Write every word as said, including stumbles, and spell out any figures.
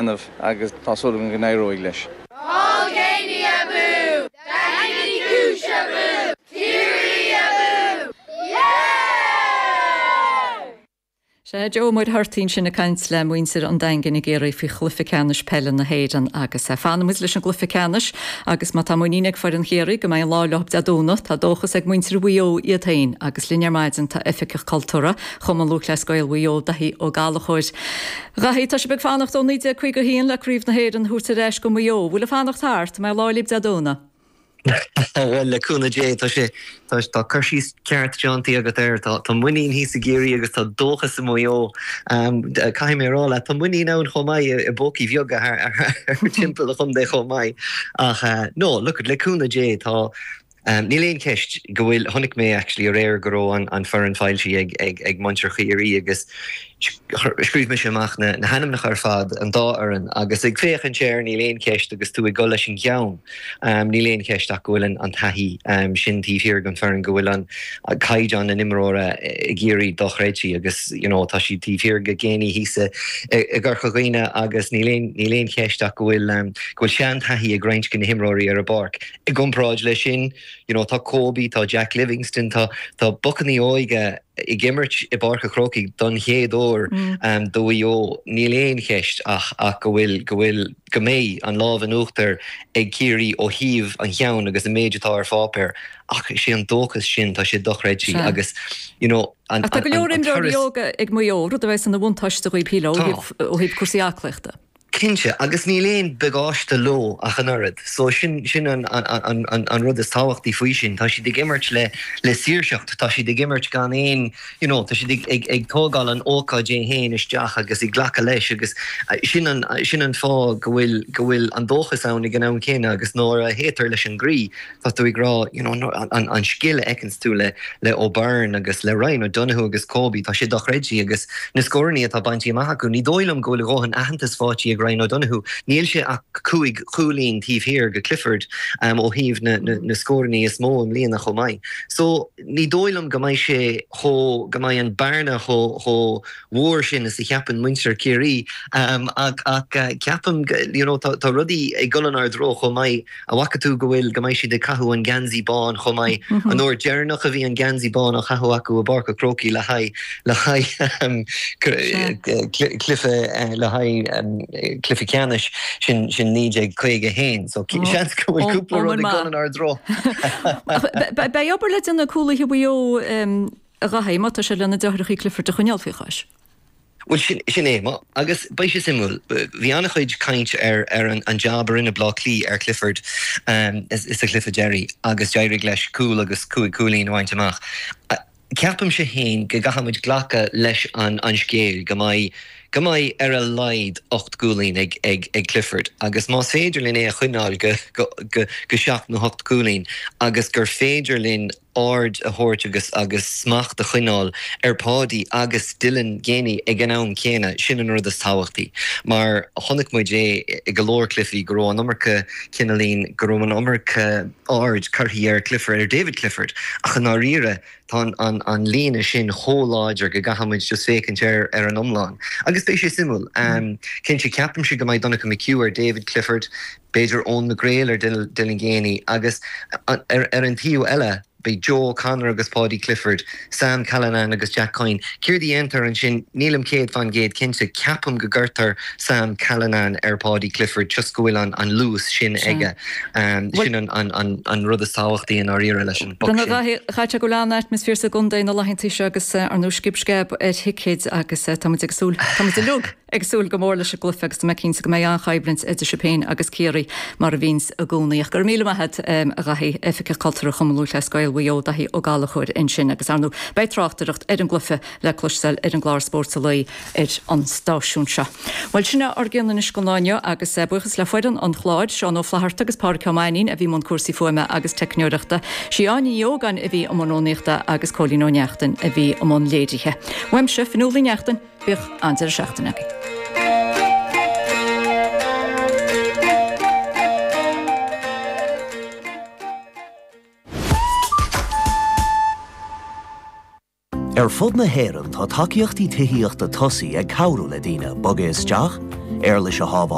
dhéanamh agus tá súil agam go n-éireoidh leis. Paul Geaney abú! Daingean Uí Chúis abú! Ciarraí abú! Yeah! Sea, Joe Ó Muircheartaigh ansin ag caint le muintir an Daingin i gCiarraí faoi chluiche ceannais peile na hÉireann agus fanfaidh muid leis an gcluiche ceannais agus má tá muinín ag foireann Chiarraí go mbeidh an lá leo Dé Domhnaigh, tá dóchas ag muintir Mhaigh Eo iad féin agus linn ar maidin tá Oifigeach Cultúrtha Chumann Lúthchleas Gael Mhaigh Eo, Daithí Ó Gallchóir. Dhaithí, tá sibh ag fanacht ó naoi déag caoga a haon le Craobh na hÉireann a thabhairt ar ais go Maigh Eo. Bhfuil an fanacht thart? An mbeidh lá libh Dé Domhnaigh? Bhuel, le cúnamh Dé, tá sé, tá, tá cur síos ceart déanta agat air. Tá, tá muinín thíos i gCiarraí agus tá dóchas i Maigh Eo. Caithfidh mé a rá leat, tá muinín ann chomh maith i bpócaí bheaga thar, thar timpeall an chontae chomh maith. Ach, no, look, le cúnamh Dé, tá, níl aon cheist go bhfuil, chonaic mé actually aréir go raibh an, an foireann foilsithe ag, ag, ag muintir Chiarraí agus scríobh mise amach na hainmneacha ar fad, an dá fhoireann, agus ag féachaint air níl aon cheist agus tú ag dul leis an gceann, níl aon cheist ach go bhfuil an taithí sin taobh thiar den foireann, go bhfuil an caighdeán na n-imreoirí i gCiarraí dochreidte agus you know tá siad taobh thiar de Geaney thíos i gCorca Dhuibhne agus níl aon níl aon cheist ach go bhfuil go bhfuil seantaithí ag roinnt de na himreoirí ar an bpáirc. I gcomparáid leis sin, you know tá Kobe, tá Jack Livingston, tá tá bocannaí óga ag imirt i bPáirc an Chrócaigh don chéad uair do Mhaigh Eo, níl aon cheist ach ach go bhfuil go bhfuil go mbeidh an lámh in uachtar ag Ciarraí ó thaobh an cheann agus an méid atá ar pháipéar ach is é an dóchas sin, tá sé dochreidte agus you know an Ach tá go leor imreoirí óga ag Maigh Eo, rud a bheas ina bhuntáiste dhaoibh shílfeá ó thaobh cúrsaí aclaíochta. Cinnte, agus níl aon bagáiste leo ach an oiread. So sin, sin an, an, an, an rud is tábhachtaí faoi sin. Tá siad ag imirt le, le saoirseacht, tá siad ag imirt gan aon, you know, tá siad ag, ag, ag tógáil an ócáid é féin isteach agus ag glacadh leis agus sin an, sin an fáth go bhfuil, go bhfuil an dóchas ann ag an am céanna agus nuair a théitear leis an gcroí, Tá tú ag rá, you know, an, an scil a fheiceanns tú le, le O'Byrne agus le Ryan O'Donoghue agus Kobe, tá sé dochreidte agus na scórannaí atá bainte amach acu, ní dóigh liom go bhfuil a dhóthain aitheantas faighte ag Ryan O'Donoghue. Níl sé ach cúig chúilín taobh thiar de Clifford ó thaobh na, na, na scórannaí is mó i mbliana chomh maith. So, ní dóigh liom go mbeidh sé chomh, go mbeidh an bearna chomh, chomh mhór sin is a cheapann muintir Chiarraí ach, ach ceapaim, you know, tá, tá rudaí ag dul inár dtreo chomh maith. An bhfaca tú go bhfuil, go mbeidh siad ag caitheamh an geansaí bán chomh maith? An uair deireanach a bhí an geansaí bán á chaitheamh acu i bPáirc an Chrócaigh le haghaidh, le haghaidh cluiche, le haghaidh cluiche ceannais, sin, sin naoi déag caoga a haon. So seans go bhfuil cúpla rud ag dul inár dtreo. Beidh obair le déanamh ag cúlaithe Mhaigh Eo a Dhaithí, má tá sé lena deartháireacha Clifford a choinneáil faoi chois. Bhuel, sin, sin é. Má, agus beidh sé suimiúil. Bhí an-chuid caint ar, ar an, an jab a rinne Bleá Cliath ar Clifford sa chluiche deiridh agus d'éirigh leis cúl agus cúig cúilín a bhaint amach. Ceapaimse féin go gcaithfidh muid glacadh leis an, an scéal go mbeidh, go mbeidh ar a laghad ocht gcúilín ag, ag, ag Clifford agus más féidir linn é a choinneáil go, go, go, go seacht nó hocht gcúilín agus gur féidir linn aird a thabhairt agus agus smacht a choinneáil ar Pháidí agus Dylan Geaney ag an am céanna, sin an rud is tábhachtaí. Mar chonaic muid é i go leor cluichí go raibh an iomarca cineáilín, go raibh an iomarca aird curtha ar Clifford, ar David Clifford ach i ndáiríre tá an an an líne sin chomh láidir go gcaithfidh muid just féachaint air ar an iomlán. Agus beidh sé suimiúil. Cinnte ceapaimse go mbeidh Donncha McHugh ar David Clifford, b'fhéidir Eoin McGrail ar Dylan Geaney agus ar an taobh eile beidh Joe O'Connor agus Paudie Clifford, Sam Callinan agus Jack Coyne. Céard a dhéantar ansin? Nílim céad fán gcéad cinnte. Ceapaim go gcuirtear Sam Callinan ar Paudie Clifford just go bhfuil an luas sin aige. Sin an rud is tábhachtaí i ndáiríre leis an bpoc sin. Caithfidh sé go bhfuil an-atmaisféar sa gcontae na laethanta seo agus ar ndóigh scib sceab ar thicéid agus tá muid ag súil, tá muid uilig! Ag súil go mór leis an gcluiche agus tá mé cinnte go mbeidh an-choimhlint idir sibh féin agus Ciarraí mar a bhíonns i gcónaí. Ach go raibh míle maith agat, a Dhaithí, Oifigeach Cultúrtha Chumann Lúthchleas Gael Mhaigh Eo, Daithí Ó Gallchóir ansin agus ar ndóigh beidh tráchtaireacht ar an gcluiche le cloisteáil ar an gclár Spórt an Lae ar an stáisiún seo. Bhuel, sin é ár gcion anois don lá inniu agus buíochas le foireann an chláir, Seán Ó Flatharta agus Pádraig Ó Mainnín a bhí i mbun cúrsaí fuaime agus teicneoireachta, Sí Áine Ní Ógáin a bhí i mbun rúnaíochta agus Cóilín Ó Neachtain a bhí i mbun léirithe. Uaimse, Fionnuala Ní Neachtain, Bíodh an-deireadh seachtaine agaibh. Ar fud na hÉireann tá tacaíochtaí tithíochta tosaigh ag cabhrú le daoine bogadh isteach, Éarlais a shábháil.